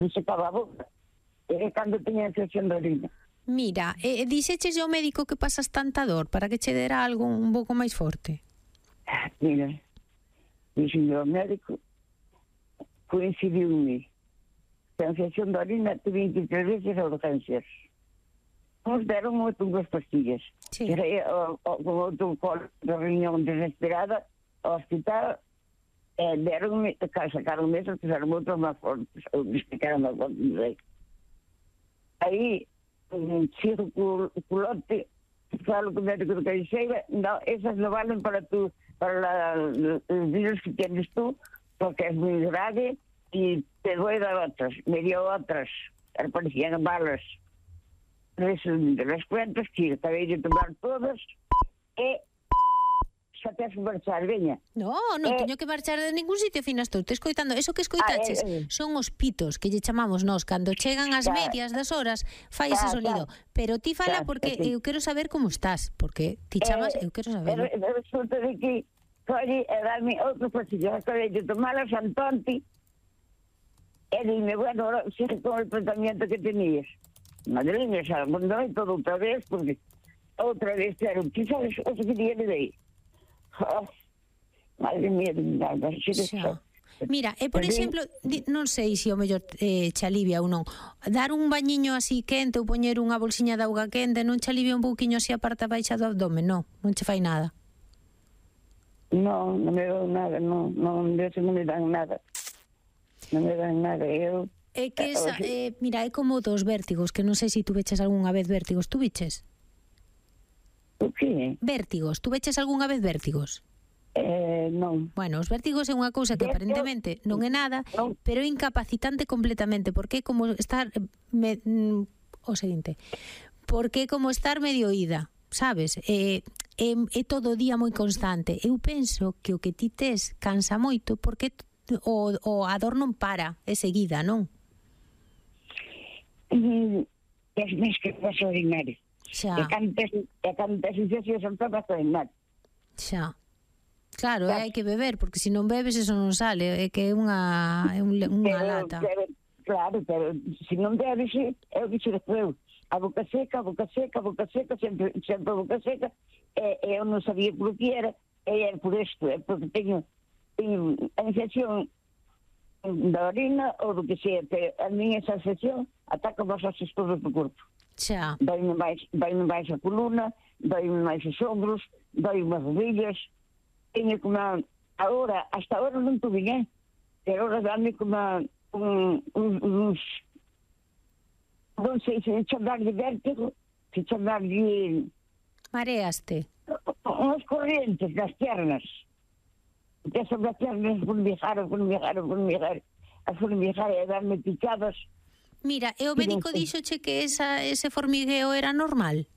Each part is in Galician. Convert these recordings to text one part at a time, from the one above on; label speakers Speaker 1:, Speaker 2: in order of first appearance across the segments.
Speaker 1: se secaba a boca. E cando tiña infección de orina.
Speaker 2: Mira, dixeches ao médico que pasas tanta dor para que che dera algo un pouco máis forte?
Speaker 1: Mira, dixen ao médico, coincidiu-me que a infección de orina te 23 veces a urgencias. Nos deron unhas pastillas.
Speaker 2: Sí.
Speaker 1: Con outro colo de riñón desesperada ao hospital, deronme, sacaron mesas, fizeron outros máis fortes, ou explicaron máis fortes, non sei. Aí, circulote, falo con o médico de cabeceira, no, esas no valen para los virus que tienes tú, porque es muy grave y te voy a dar otras. Me dio otras, parecían balas. De las cuentas que acabei de tomar todas e xa tens que marchar, veña.
Speaker 2: Non teño que marchar de ningún sitio, fina estou te escoitando. Eso que escoitaches son os pitos que lle chamamos nós cando chegan as medias das horas, fai ese sonido. Pero ti fala porque eu quero saber como estás, porque ti chamas, eu quero saber.
Speaker 1: Resulta de que colle e dame outro pastillo, acabei de tomarlas Antonti e dime, bueno, ahora sigue con el tratamiento que tenías. Madriña, xa abandonei todo outra vez, porque outra vez, claro, ti sabes o que día de aí. Madre mía, nada, xa.
Speaker 2: Mira, por exemplo, non sei se o mellor che alivia ou non, dar un bañiño así quente ou poñer unha bolsiña de auga quente non che alivia un pouquiño así a parte baixa do abdomen, non che fai nada?
Speaker 1: Non me dou nada, non me dan nada. Non me dan nada, eu...
Speaker 2: É que esa, mira, é como dos vértigos, que non sei se tú veches algunha vez vértigos. Tú viches?
Speaker 1: O que?
Speaker 2: Vértigos. Tú veches algunha vez vértigos?
Speaker 1: Non.
Speaker 2: Bueno, os vértigos é unha cousa que aparentemente non é nada, pero é incapacitante completamente, porque é como estar o seguinte, porque é como estar medio ida, sabes? É todo o día moi constante. Eu penso que o que ti tes cansa moito porque o a dor non para, é seguida, non?
Speaker 1: Es máis que vas a orinar.
Speaker 2: Xa.
Speaker 1: E cando tes infección son todas a orinar.
Speaker 2: Xa. Claro, hai que beber, porque se non bebes eso non sale, é que é unha lata.
Speaker 1: Claro, pero se non bebes, é o que se despois. A boca seca, sempre a boca seca, e eu non sabía por que era, e é por isto, é porque teño a infección da orina ou do que sea, pero a minha esa infección ataca vos as estudos do corpo.
Speaker 2: Xa.
Speaker 1: Dói-me máis a coluna, dói-me máis os ombros, dói-me as rodillas. Teño como hasta ahora non tuve, pero ahora dame como uns non sei se chamar de vértigo, se chamar de...
Speaker 2: Mareaste?
Speaker 1: Unas corrientes nas piernas. Empezan as piernas a formigar, e darme picadas.
Speaker 2: Mira, e o médico dixoche que ese formigueo era normal?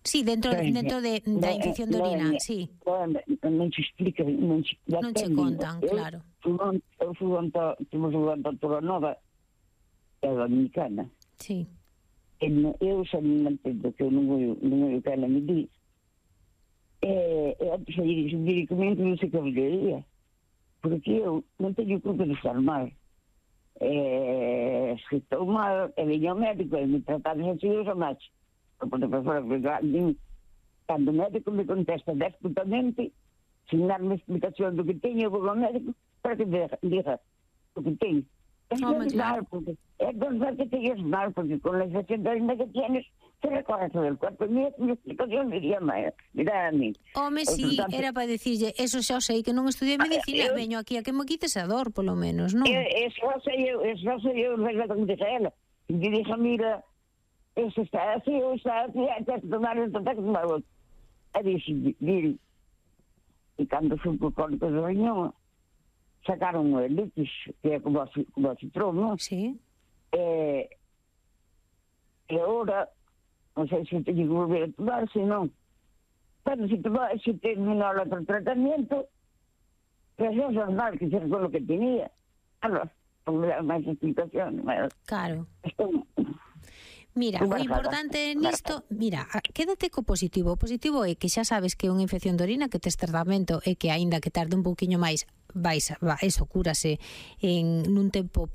Speaker 2: Sí, dentro da infección de orina, sí.
Speaker 1: Non se explica, non
Speaker 2: che contan, claro.
Speaker 1: Fui a Toronova, a Dominicana.
Speaker 2: Sí.
Speaker 1: Eu xa non entendo que non vou que ela me di. Antes de medicamento non sei que volvería, porque eu non teño culpa de estar mal. Se estou mal, veño ao médico e me tratamos así os máis. Cando o médico me contesta desputamente, sin darme explicación do que teño, eu vou ao médico para que me diga o que teño.
Speaker 2: Claro.
Speaker 1: Es normal que te lleves mal, porque con la infección de orina que tienes, te recorre todo el cuerpo. Mi explicación diría mira a mí.
Speaker 2: Home, si, era para decirle, eso xa sei que non estudiei medicina, veño aquí a que me quites a dor, polo menos, non?
Speaker 1: Eso sei eu, como dije a ela. E dije, mira, eso está así, ou está así, hay que tomar el tratar que tomar outro. E dixi, e cando fui por cólico do riñón, sacaron o elitis, que é como o citrón, non?
Speaker 2: Sí.
Speaker 1: E agora, non sei se teño que volver a tomar, se non. Pero se terminou o tratamento, pues é normal que se con lo que tenía. Claro, non me dá máis explicación.
Speaker 2: Claro. Mira, o importante nisto, mira, quédate co positivo. O positivo é que xa sabes que é unha infección de orina, que tes tratamento e que aínda que tarde un pouquiño máis, eso cúrase nun tempo